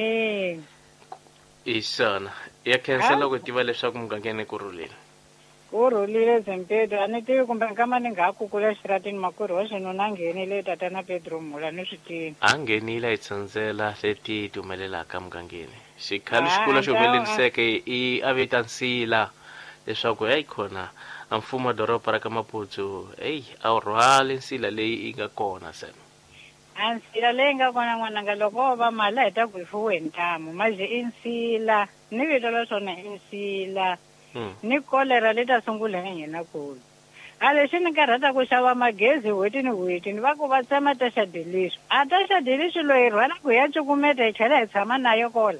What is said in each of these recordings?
E. Hi swona. Ya khensa loko tiva leswaku mugangeni ku rhulile. Ku rhulile Zimpeto, a ni tivi kumbe nkama ni nga ha kukula exitarateni makwerhu wa xinuna a nghenile tatana Pedro Mhula ni swi tivi. A nghenile a hi tsandzela leti ti humelelaka mugangeni. Xikhalo xikulu xi humeleliseke i a vita nsila leswaku heyi khona a mfumo wa doroba ra ka Maputsu heyi a wu rhwali nsila leyi yi nga kona se. A nsila leyi nga kona n'wananga loko wo va mali a hi ta ku hi fuwe hi ntamu mazhe i nsila ni vito la swona i nsila ni kolera li ta sungula hi hina kulu. A lexi ni karhata ku xava magezi hweti ni hweti ni va ku va tsema ta xa Delixo a ta xa Delixo loyi hi rhwala ku hi ya cukumeta hi tlhela hi tshama nayo kola.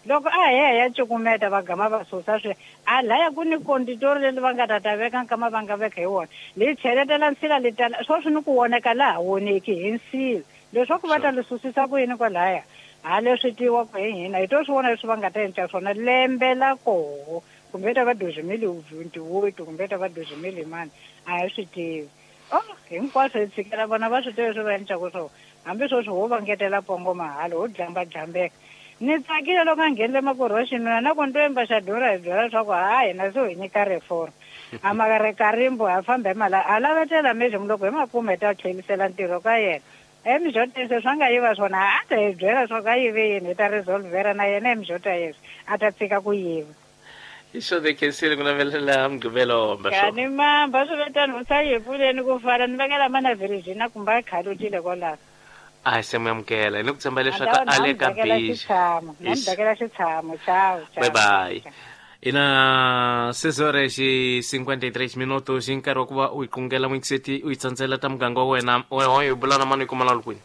Loko a hi ya hi ya cukumeta va gama va susa swi a laya ku ni konditori leri va nga ta ta veka nkama va nga veka hi wona li cheletela nsila li tala sweswi ni ku voneka laha voneki hi nsila leswaku va ta li susisa ku yini kwalaya ha leswi tiwa ku hi hina hi to swi vona leswi va nga ta endla swona lembe la koho kumbe ta va 2028 kumbe ta va 20 mani a hi swi tivi. Oh, hinkwaswo hi tshikela vona va swi tiva leswi va endlaka swona. Hambi sweswi ho va ngetela pongo mahala, ho dlamba-dlambeka. Ni tsakile loko a nghenile makwerhu wa xinuna na ku ni to yimba xa durha hi byela leswaku ha hina se ho hi nyika reform. A ma ri karimbu ha famba hi mala a lavetela mejemu loko hi ma kuma hi ta tlhelisela ntirho ka yena. Emijota se swa nga yiva swona a ta hi byela leswaku a yive yini hi ta resolvera na yena emijota yeswi a ta tshika ku yiva. Hi swona khensile ku navelela mugqivelo mba swo. Kani mamba swi ve tano u sa yi pfuleni ku fana ni vekela mana Virginia kumbe a khalutile kwalaho. A se mu amukela ni ku tshemba leswaku a le ka busy. Xitshamo, na mi bekela xitshamo. Ciao, ciao. Bye bye. Ina 6 horas e 53 minutos i nkarhi wa ku va u yi qungela n'wingiseti u yi tsandzela ta muganga wa wena wehoyo bula na mani yi kuma la kwini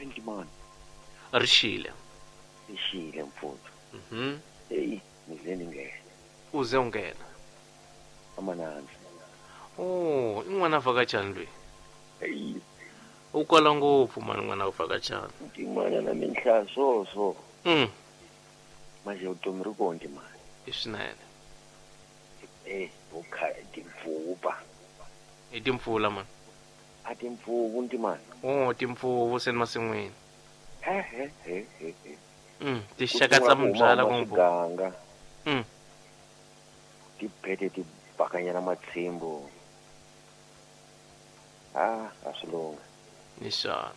Ndimani. Rixile. Rixile mfuthu. Mhm. Eyi, ni ze ni nghena. U ze u nghena. Amanandzi. Oh, i n'wana vhakachani loyi. Eyi. U kwala ngopfu mani n'wana wa vhakachani. Ntimana na minhlaya so so. Manje vutomi ri kona ntimana. I swinene. Eh, vukha timpfuvu pa. I timpfula mani. A timpfuvu ntimana. Oh, timpfuvu se ni masin'wini. He he he he he. Tinxaka tsa mubyala ku swiganga. Ti phete ti bakanyana matshimbu. Ah, a swi lungha. Ni swona.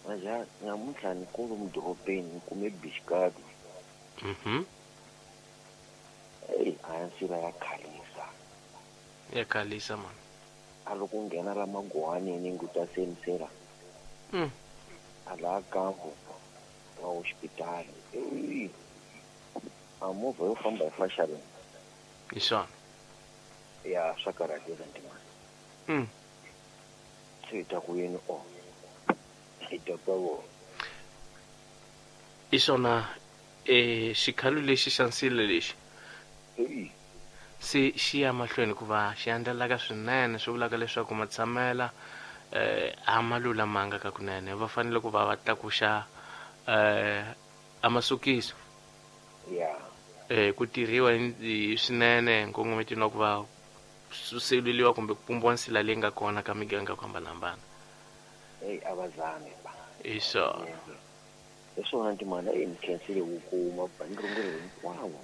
Manje namuntlha ni kulu mudorobeni ni kume bixikadi. Eyi, a ya nsila ya khalisa. Ya khalisa man. A loko u nghena la maguwaneni ngi u ta se nsila. A laha kambu wa hoxipitali. Eyi, a movha yo famba hi faxaleni. Hi swona. Ya swa karhateka ntimani. Se hi ta ku yini o? Hi ta ka vona. Hi swona e xikhalo lexi xa nsila lexi. Eyi. Se xi ya mahlweni ku va xi andlalaka swinene swi vulaka leswaku matshamela a ma lulamanga ka kunene va fanele ku va va tlakuxa a masukiso. Ya. Ku tirhiwa hi swinene nkongometweni wa ku va suseleliwa kumbe ku pumbiwa nsila leyi nga kona ka miganga ku hambanahambana. Eyi a va zame ba. Hi swona. Hi swona ntimana eyi ni khensile ku kuma ba ni rungula hinkwavo.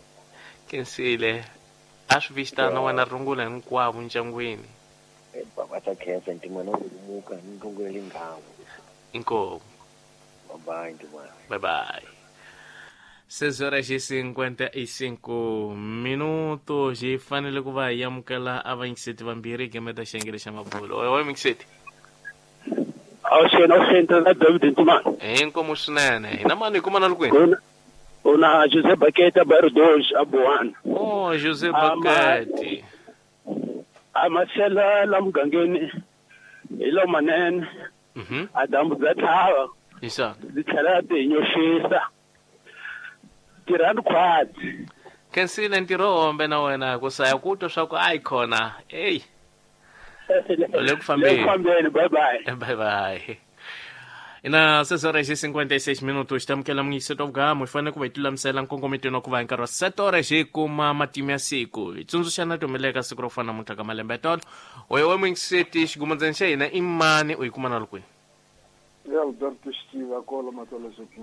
Khensile. A swi vistana wena rungula hinkwavo ndyangwini. Baba ta khensa ntimana u lumuka ni rungula linghawu. Inkomu. Bye bye ntimana. Bye bye. 6 horas e 55 minutos hi fanele ku va hi amukela a vayingiseti vambirhi gemeta xiyengele xa mabulo. Oyo oyo muyingiseti. Awuxeni awuxeni na David Ntimana. Inkomu swinene. Hina mani hi kuma na lukwini? Una Jose Bakete bairro 2 a Boana. Oh, Jose Bakete. A masela la mugangeni hi lo manene. A dyambu bya tlhava. Hi swona. Byi tlhela ti nyoxisa. Tirhani khwatsi. Khensile ntirho hombe na wena ku saya ku twa swa ku ayi khona. Ey. Le ku fambeni. Le ku fambeni, bye bye. Bye bye. Ina 6 horas e 56 minutos tamukela muyingiseti wa vugamu hi fanele ku va hi tilulamisela nkongometweni wa ku va hi nkarhi wa 7 horas hi kuma matimu ya siku hi tsundzuxana ti humeleleka siku ro fana namuntlha ka malembe ya tolo oyo wa muyingiseti xigumandzeni xa hina i mani u yi kuma na lukwini I Alberto Xitiva kolo Matolo